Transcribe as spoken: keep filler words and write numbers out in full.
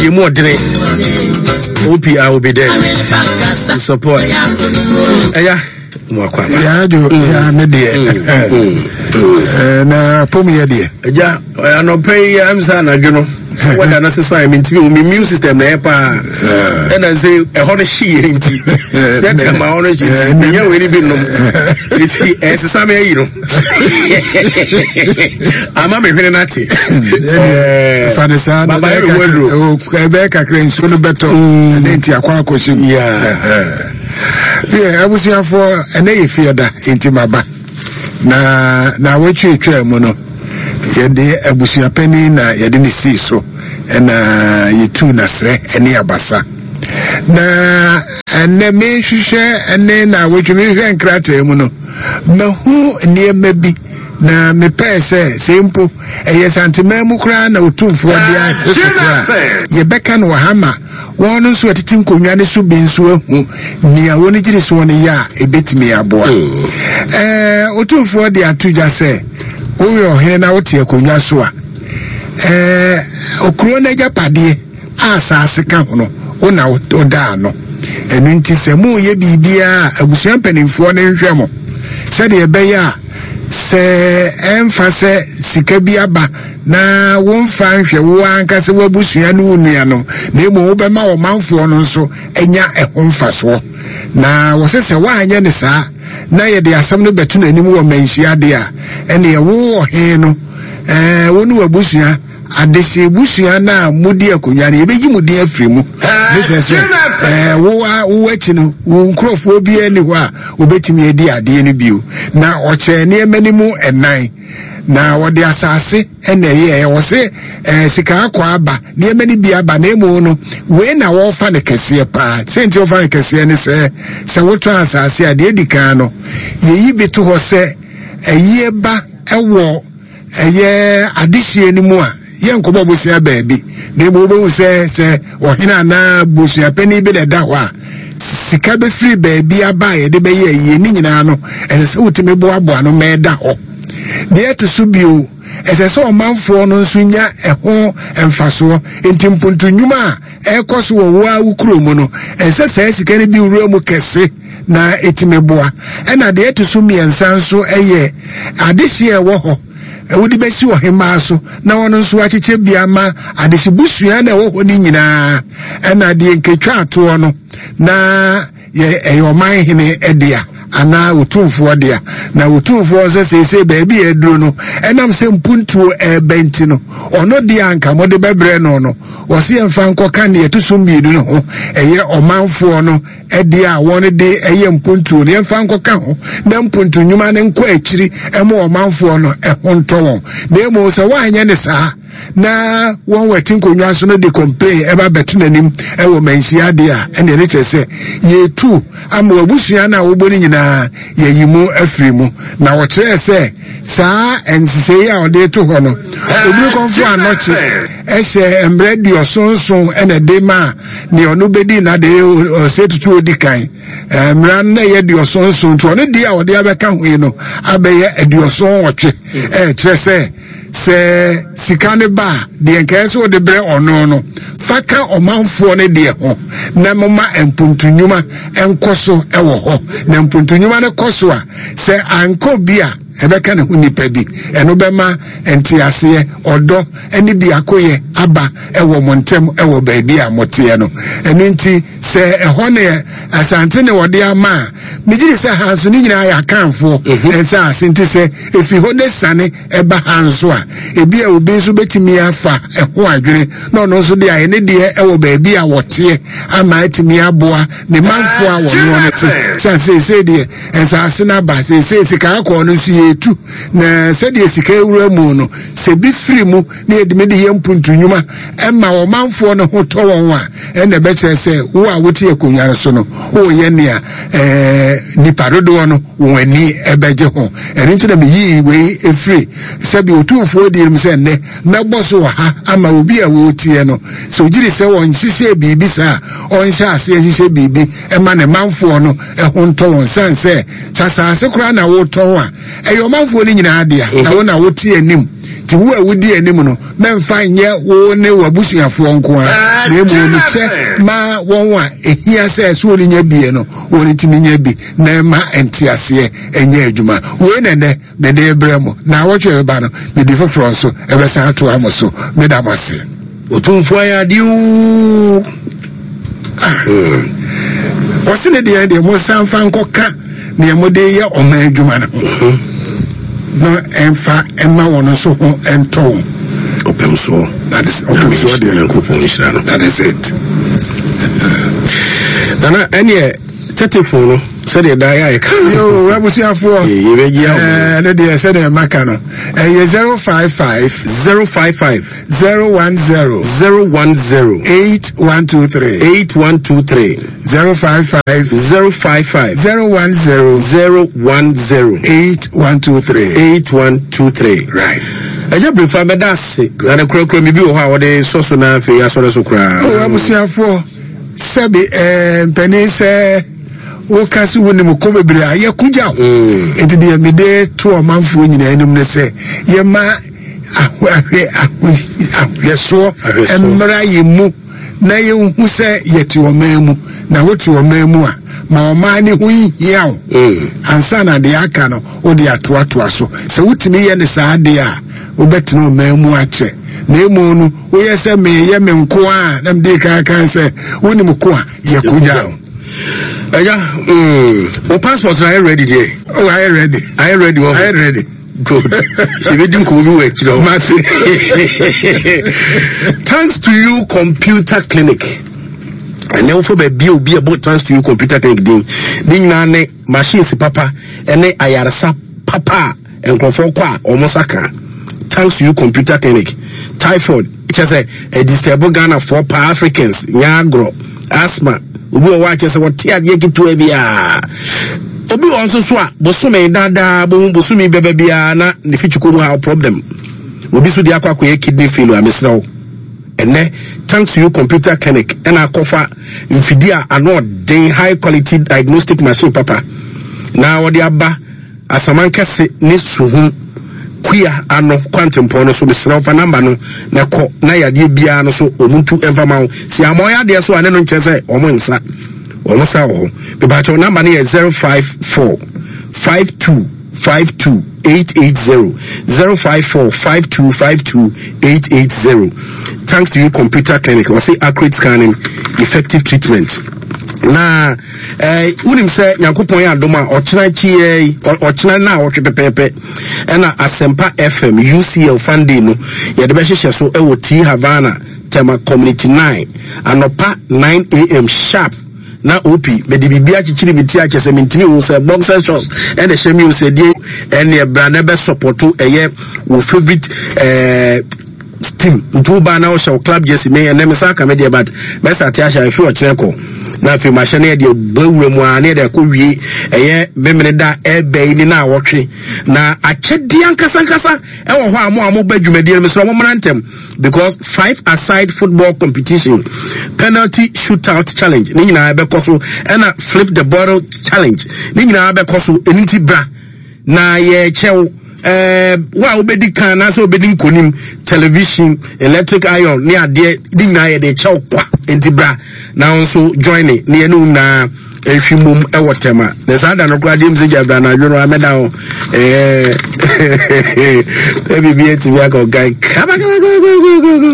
Yɛ mu ɔdene. O P R will be there to support. Ɛya mu akɔ aba. Yaa do yaa ne deɛ na pom yɛ deɛ. Ɛgya anɔpɛ yi am sɛ anadwo no wɔda no sesan mi ntumi mi immune system na ɛyɛ paa, ɛna sɛ ɛhɔ no hye yɛ, nti sɛ tɛma hɔ no hye nti menya wei ni bi nom, nti ɛsesa mi ayi no ama me hwene nate. Fa ne saa na Baba yɛ mi waduro. Ɛbɛyɛ kakra nsuo no bɛtɔ ɛne nti akɔ akɔhyɛ mu. Fie abusuafoɔ, ɛnɛ yɛ fie da nti maba na na awɔtwe atwa mu no, yɛde abusuapanin na yɛde ne sii so, ɛna yɛtuu n'asrɛ ne abasa. Na ɛnɛ mehwehwɛ ɛne na awɔtwe mehwehwɛ nkrataa mu no, mahu nneɛma bi na mepɛɛ sɛ sɛ mpo ɛyɛ Santeman mu koraa na Otumfoɔ de ahwɛ so koraa, yɛbɛka no wɔ ha ma wɔn nso ɛtete nkonnwa no so bi nso ahu nea wɔn gyiri soɔ no yɛ a ɛbɛtumi aboa. ɛɛ otumfoɔ de ato dwa sɛ woyɛ ɔhene na wote akonnwa so a, ɛɛ okuro no agyapadeɛ a asase ka ho no, wo na woda ano. Ɛno nti sɛ moyɛ biribiara a, abusua mpanimfoɔ no nhwɛ mo sɛdeɛ ɛbɛyɛ a sɛ ɛmfa sɛ sika bi aba na womfa nhwɛ wo ankasa w'abusua ne wo nuanom, na mmom wobɛma ɔmanfoɔ no nso anya ɛho mfasoɔ. Na wɔsɛ sɛ woanyɛ ne saa na yɛde asɛm no bɛto n'anim wɔ manhyia deɛ a, ɛneɛ wo ɔhene no, ɛɛ wo ne w'abusua adehye busua no a modi akonnwa no, yɛbɛyi mu din afiri mu. Ne kyerɛ sɛ ɛɛ wo a wo akyi no, wo nkurɔfoɔ biara ni hɔ a wobɛtumi adi adeɛ no bio. Na ɔkyerɛ nneɛma no mu ɛnan na wɔde asase ɛna ɛyɛ ɛwɔ sɛ ɛɛ sika akɔ aba, nneɛma no bi aba, na emu no wei na wɔrefa no kɛseɛ paa. Sɛnti wɔfa no kɛseɛ ne sɛ sɛ wotɔn asase a, deɛ edi kan no, yɛyi bi to hɔ sɛ ɛyie ba ɛwɔ ɛyɛ adehyie no mu a, yɛnkɔbɔ bosea baabi, na emu wobɛhu sɛ sɛ ɔhene anaa busua panin bi na ɛda hɔ a, sika bɛfiri baabi aba a yɛde bɛyɛ ayie ne nyinaa no, ɛsɛ sɛ wotumi boaboa no ma ɛda hɔ. Deɛ ɛto so bio, ɛsɛ sɛ ɔmanfoɔ no nso nya ɛho mfasoɔ, nti mpuntu nnwuma a ɛrekɔ so wɔ wo a wo kuro mu no, ɛsɛ saa sika no bi wura mu kɛse na ɛtumi boa. Ɛna deɛ ɛto so mmiɛnsa nso ɛyɛ adehyeɛ a ɛwɔ hɔ wode bɛsi ɔhemmaa so na ɔno nso akyekyɛ bi ama adehye busua na ɛwɔ hɔ no nyinaa. Ɛna deɛ nketwa atoɔ no na yɛ ɛyɛ ɔman hene dea anaa Otumfoɔ dea. Na Otumfoɔ nso seesei baabi a aduro no, ɛnam sɛ mpuntuo ɛɛbɛ nti no, ɔno deɛ anka mode bɛbrɛ no no, wɔsi yɛmfa nkɔka neɛ ɛto so mmienu no ho, ɛyɛ ɔmanfoɔ no ɛdeɛ a wɔn de ɛyɛ mpuntuo no, yɛmfa nkɔka ho na mpuntu nnwuma no nkɔ akyiri ɛma ɔmanfoɔ no ɛho ntɔ wɔn. Na emu sɛ wɔanyɛ ne saa na wɔn wɔ ɛte nkonnwa so no de complain ɛba bɛto n'anim ɛwɔ manhyia adeɛ a, ɛna ɛne kyerɛ sɛ yɛtu ama abusua no a wɔbɔ no nyinaa, yɛyi mu afiri mu. Na wɔkyerɛ sɛ saa nhyehyɛeɛ a ɔde to hɔ no, Obiri Kɔnfo Anɔkye ɛhyɛ mmerɛ duɔsonson ɛna ɛde ma nea ɔno bɛdi n'ade ɔsɛ tutu odi kan. Mmara no na ɛyɛ duɔsonson, nti ɔno deɛ a ɔde abɛka ho yi no abɛyɛ aduɔson nwɔtwe. Ɛkyerɛ sɛ sɛ sika no ba a, deɛ nkae sɛ wɔde brɛ ɔno no, fa ka ɔmanfoɔ no deɛ ho na moma mpuntu nnwuma nkɔ so wɔ hɔ. Na mpuntu nnwuma no kɔ so a, sɛ ankɔ bi a, ɛbɛka ne ho nipa bi, ɛno bɛma nteaseɛ, ɔdɔ ne biakoyɛ aba ɛwɔ mo ntɛm ɛwɔ baabi a moteɛ no. Ɛno nti sɛ ɛhɔ ne Asante ne wɔde ama a, megye di sɛ ha nso ne nyinaa yɛ Akanfoɔ ɛnsa ase, nti sɛ ɛfiri hɔ ne sane ɛba ha nso a, ebi a obi nso bɛtumi afa ɛho adwene na ɔno nso de ayɛ ne deɛ ɛwɔ baabi a wɔteɛ ama atumi aboa ne manfoɔ a wɔnoɔ no te sɛ seesei deɛ nsaase no aba. Seesei sika akɔɔ no nso yɛtu, na sɛdeɛ sika ewura mu no, sɛ bi firi mu na yɛdumi de yɛ mpuntu nnwuma ɛma ɔmanfoɔ no ho tɔ wɔn a, ɛna ɛbɛkyerɛ sɛ wo a wote akonnwa no so no, woyɛ nea ɛɛ nipa dodoɔ no wɔn ani ɛbɛgye ho. Ɛno nti na meyii wei efiri sɛbi Otumfoɔ di mu sɛ nnɛ mɛbɔ so wɔ ha ama obi a wɔretie no, sɛ ogyiri sɛ wɔn nhyehyɛ biribi saa, ɔnhyɛ aseɛ nhyehyɛ biribi ɛma ne manfoɔ no ɛho ntɔ wɔn, san sɛ sasaase koraa na wotɔn a, ɛyɛ ɔmanfoɔ no nyinaa dea na wo na wote anim. Nti wo a wodi anim no, mɛmfa nyɛ wo ne w'abusuafoɔ nko a, na mmom no kyɛ ma wɔn a ɛhia sɛ so wɔn nya bie no, wɔn ntumi nya bi, na ɛma nteaseɛ ɛnyɛ adwuma. Wei na ɛnɛ mede brɛ mo, na awɔtwe ɛbɛba no, mede foforɔ nso ɛbɛsan atoa mo so. Meda mo ase. Otumfoɔ ayɛ adeɛ oo. Wɔse ne deɛ deɛ mo nsa mfa nkɔka nea mode yɛ ɔman adwuma no ho, na ɛmfa ɛma wɔn nso ho ɛntɔ wɔn. Ɔpem soɔ. That is ɔpem soɔ deɛ. Nyankopɔn nhyira no. That is it. Nana, ɛneɛ tɛtɛfon no sɛdeɛ daa yɛ a yɛka. Yo, abusuafoɔ. Yɛbɛgye awo. Ɛɛ ne deɛ sɛdeɛ maka no, ɛyɛ zero five five zero five five zero one zero zero one zero eight one two three eight one two three zero five five zero five five zero one zero zero one zero eight one two three eight one two three. Right. Ɛgya Brefa bɛda ase na ne kurakura mi bi wɔ hɔ a wɔde sɔ so na afei asɔre so koraa. O abusuafoɔ, sɛbi ɛɛ mpanin sɛ woka sɛ wonim ko bebree a yɛko gya wo. Nti deɛ mede to ɔmanfoɔ nyinaa anim ne sɛ yɛma ahwɛ ahwɛsoɔ mmra yɛ mu, na yɛnhu sɛ yɛte ɔman mu, na wote ɔman mu a ma ɔman ne ho nhia wo ansa na deɛ aka no wode atoatoa so. Sɛ wotumi yɛ ne saa deɛ a, wobɛtena ɔman mu akyɛ. Na emu no woyɛ sɛ meyɛ me nko a, na mede kan sɛ wonim ko a yɛko gya wo. Ɛgya, wo passport na ayɛ ready deɛ? Oh, ayɛ ready. Ayɛ ready wɔ? Ayɛ ready. Good. Yɛbɛdi nkɔmmɔ bi wɔ akyirɛ hɔ. Thanks to You Computer Clinic. Ɛnɛ wofo baabi a obi a ɛbɔ Thanks to You Computer Clinic din ne nyinaa ne machines papa ɛne ayaresa papa a nkurɔfoɔ kɔ a wɔn nsa ka. Thanks to You Computer Clinic. Typhoid kyɛ sɛ ɛdisturb Ghanafoɔ paa, Africans nyɛ agorɔ. Asthma, obi wɔ hɔ a kyɛ sɛ wɔte adeɛ ketewa biara. Obi wɔ nso so a bosome daadaa bohu bosome bɛbɛ biara na ne fikyiko mu ha problem. Obi so de akɔ akɔyɛ kidney failure. Mesrɛ wo, ɛnɛ Thanks to You Computer Clinic ɛna akɔfa mfidie a ano ɔden, high quality diagnostic machine papa, na wɔde aba Asamankɛse ne Suhum Kua ano kwantempɔn no so. Mesrɛ wo, fa namba no na kɔ na yadeɛ biara no so ɔmo ntu ɛmfa ma wo. Si ama ɔyɛ adeɛ so a ne no nkyerɛ sɛ ɔmo nsa ɔmo sa wɔ hɔ. Mepakyɛw, namba no yɛ zero five four five two five two eight eight zero, zero five four five two five two eight eight zero. Thanks to You Computer Clinic, wɔsi accurate scanning, effective treatment. Na ɛɛ wunim sɛ Nyankopɔn yɛ adom a, ɔkyena akyi, ɔkyena na ɔtwe pɛpɛɛpɛ, ɛna Asɛmpa F M U C L Fun Day no yɛde bɛhyehyɛ so ɛwɔ T Havana, Tema Community nine, anɔpa nine a m sharp. Na op mede biribi akyekyere me ti akyɛ sɛ mentumi hu sɛ boxer shorts ɛna ɛhyɛ mi o, sɛ deɛ ɛne ɛbra na ɛbɛ support ɛyɛ wo favourite ɛɛ team. Nti wo ba na wohyɛ wo club jersey. Me ɛnɛ me sa aka me deɛ, but mɛsa ate ahyɛ afi ɔkyerɛ kɔ na afei mahyɛ no. Yɛde bɔ awura mu a ne yɛde akɔ wie ɛyɛ memene da ɛbɛ yi ne na awɔtwe na akyɛdeɛ ankasa ankasa ɛwɔ hɔ a mo a mo ba dwumadie no, mesrɛ mo mmra ntɛm, because five aside football competition, penalty shootout challenge ne nyinaa bɛkɔ so, ɛna flip the bottle challenge ne nyinaa bɛkɔ so. Ɛno nti bra na yɛkyɛw ɛɛ wo a wobɛdi kan anaasɛ wobɛdi nkonim, television, electric iron ne adeɛ ne nyinaa yɛde kyɛw kwa. Nti bra na wo nso join ne ne yɛne wo nyinaa ɛhwi mom ɛwɔ Tɛma. Na saa da no koraa deɛ m sɛ gya bra na adwo no amɛda hɔ ɛɛ biribi atumi aka ɔgan kama kama kama kama.